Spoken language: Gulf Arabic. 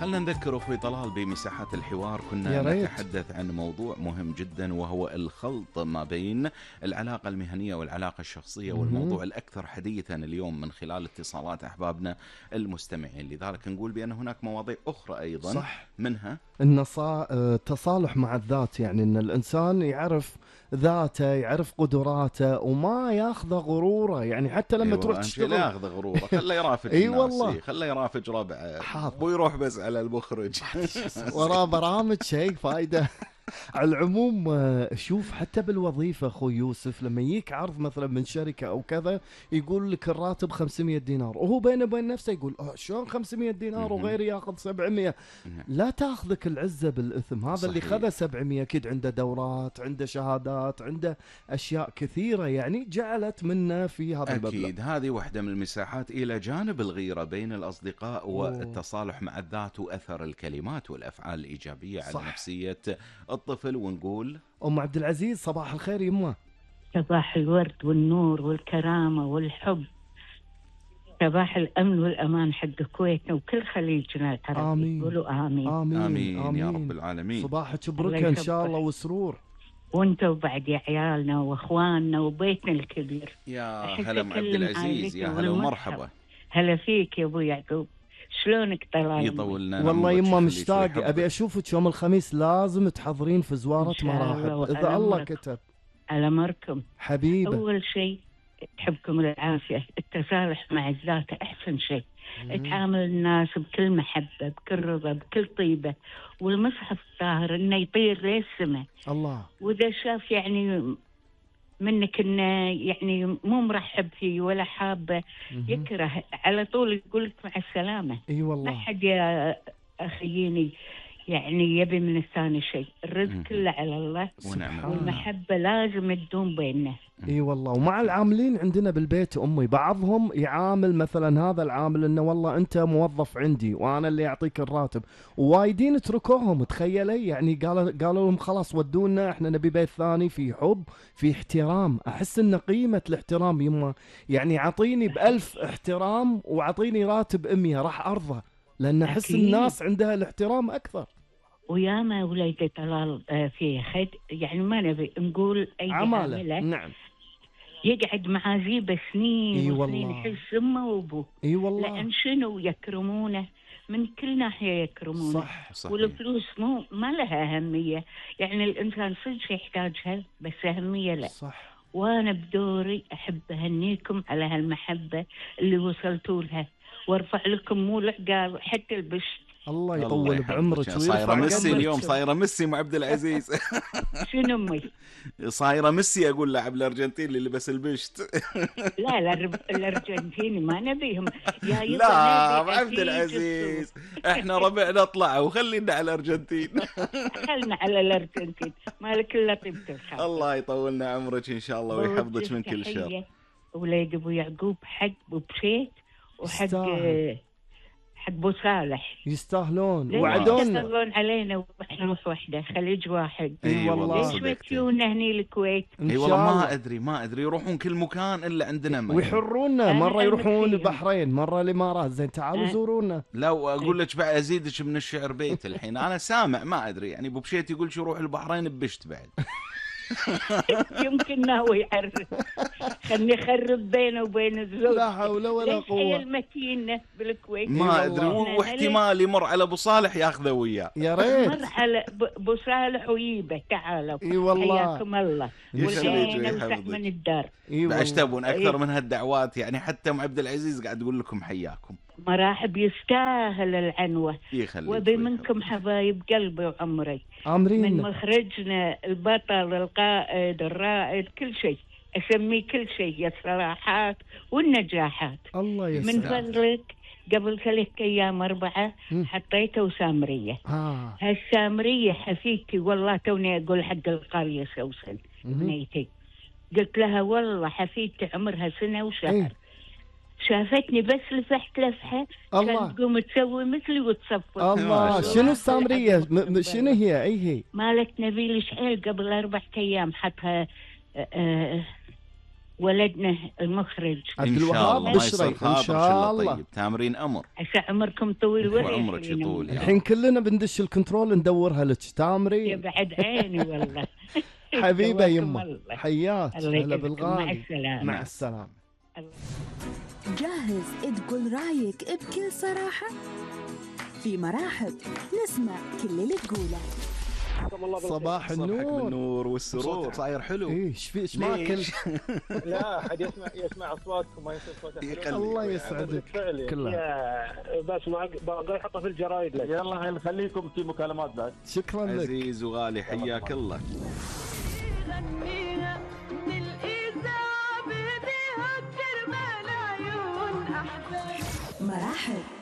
خلنا نذكر أخوي طلال بمساحات الحوار كنا يا ريت. نتحدث عن موضوع مهم جدا، وهو الخلط ما بين العلاقة المهنية والعلاقة الشخصية، والموضوع الأكثر حديثا اليوم من خلال اتصالات أحبابنا المستمعين. لذلك نقول بأن هناك مواضيع أخرى أيضا صح. منها التصالح مع الذات، يعني ان الانسان يعرف ذاته، يعرف قدراته وما ياخذ غروره، يعني حتى لما تروح لا تشتغل ياخذ غروره، خله يرافق اي الناس، والله خله يرافق ربعه، حاضر. ويروح بس على المخرج وراه برامج شيء فايده. على العموم شوف حتى بالوظيفة أخوي يوسف، لما يجيك عرض مثلا من شركة أو كذا يقول لك الراتب 500 دينار، وهو بينه وبين نفسه يقول شلون 500 دينار وغيري ياخذ 700؟ لا تاخذك العزة بالإثم. هذا صحيح. اللي خذ 700 أكيد عنده دورات، عنده شهادات، عنده أشياء كثيرة يعني جعلت منه في هذا المبلغ. أكيد هذه واحدة من المساحات، إلى جانب الغيرة بين الأصدقاء والتصالح مع الذات، وأثر الكلمات والأفعال الإيجابية صح. على نفسية الطفل. ونقول أم عبد العزيز صباح الخير يمه. صباح الورد والنور والكرامة والحب، صباح الأمن والأمان حق كويتنا وكل خليجنا العربي. آمين. يقولوا آمين. آمين. آمين, آمين يا رب العالمين. صباحك بركة إن شاء الله وسرور. وانتوا بعد يا عيالنا واخواننا وبيتنا الكبير. يا هلا ام عبد العزيز، يا هلا ومرحبا. هلا فيك يا ابو يعقوب، شلونك طلال؟ يطولنا والله يما مشتاق، ابي اشوفك يوم الخميس، لازم تحضرين في زوارة مراحب اذا الله كتب. على مركم حبيبه. اول شيء تحبكم العافية، التصالح مع الذات احسن شيء. تعامل الناس بكل محبة، بكل رضا، بكل طيبة، والمصحف الطاهر انه يطير للسماء. الله. واذا شاف يعني منك انه يعني مو مرحب فيه ولا حابه يكره على طول، يقول لك مع السلامه. اي والله. ما حد يا اخييني يعني يبي من الثاني شيء، الرزق كله على الله، والمحبه لازم تدوم بيننا. اي والله. ومع العاملين عندنا بالبيت امي، بعضهم يعامل مثلا هذا العامل انه والله انت موظف عندي وانا اللي اعطيك الراتب، ووايدين تركوهم تخيلي، يعني قالوا لهم خلاص ودونا احنا نبي بيت ثاني في حب في احترام. احس ان قيمة الاحترام يما، يعني اعطيني ب1000 احترام واعطيني راتب 100 راح ارضى، لان احس الناس عندها الاحترام اكثر. وياما وليدي طلال في خد، يعني ما نبي نقول اي عامله. نعم. يقعد مع زيبه سنين وسنين يحس امه وابوه. اي والله. لان شنو يكرمونه من كل ناحيه، يكرمونه. صح. والفلوس ما لها اهميه، يعني الانسان صدق يحتاجها بس اهميه لا. صح. وانا بدوري احب اهنيكم على هالمحبه اللي وصلتوا لها، وارفع لكم مو العقال حتى البشت. الله يطول بعمرك. صايره ميسي اليوم، صايره ميسي مع عبد العزيز. شنو امي؟ صايره ميسي اقول لاعب الارجنتين اللي لبس البشت. لا الارجنتيني ما نبيهم يا لا عبد العزيز، احنا ربعنا اطلع وخلينا على الارجنتين. خلنا على الارجنتين، مالك الا طيبة الخاطر. الله يطولنا عمرك ان شاء الله ويحفظك من كل شر. وليد ابو يعقوب حق ابو بشيت وحق ابو صالح يستاهلون وعدونا. يستاهلون علينا، واحنا نروح وحده خليج واحد. اي والله. ليش بتجونا هني الكويت؟ اي والله ما ادري يروحون كل مكان الا عندنا ما ويحرونا، مره يروحون البحرين، مره الامارات. زين تعالوا زورونا. لا واقول لك بعد ازيدك من الشعر بيت الحين انا سامع ما ادري، يعني ابو بشيت يقول شو يروح البحرين ببشت بعد. يمكن ناوي يعرف. خلني يخرب بينه وبين الزوج. لا حول ولا قوة. هي المتينة بالكويت ما ادري، واحتمال يمر على ابو صالح ياخذه وياه. يا ريت مر على ابو صالح ويبه. تعالوا. اي والله. حياكم الله. والحين نوسع من الدار. بعد تبون اكثر من هالدعوات، يعني حتى ام عبد العزيز قاعد تقول لكم حياكم. مراحب، يستاهل العنوة. وبي منكم حبايب قلبي وعمري. عمرين. من مخرجنا البطل القائد الرائد كل شيء، أسميه كل شيء، الصراحات والنجاحات. الله يسلمك. من فضلك قبل 3 أيام 4 حطيته سامرية. هالسامرية حفيدتي والله توني أقول حق القرية سوسن بنيتي، قلت لها والله حفيدتي عمرها 1 سنة وشهر. شافتني بس لفحت لفحة كانت تقوم تسوي مثلي وتصفر. الله. شنو السامرية؟ شنو هي؟ اي هي؟ مالت نبيل شعيل قبل 4 أيام حطها. ولدنا المخرج عبد إن شاء الوهاب الله ما بشري يصير ان خاطر شاء الله. طيب تامرين أمر عسى عمركم طويل وعمرك يطول. الحين كلنا بندش الكنترول ندورها لك تامرين. يا بعد عيني والله. حبيبه يمه الله. حياك. الله هلا يجزاكم. بالغالي. مع السلامة. مع السلامه. جاهز تقول رايك بكل صراحة؟ في مرحب نسمع كل اللي تقوله. صباح صبحك النور. بالنور والسرور. صوتك صاير حلو. ايه ايش ماكل؟ لا أحد يسمع أصواتكم ما يصير صوتك. الله يسعدك. كلها بس باقي احطه في الجرايد لك. يلا نخليكم في مكالمات بعد. شكرا لك. عزيز وغالي حياك الله. غنينا من الإذاعة بيها كرمال عيون أحباب. مرحب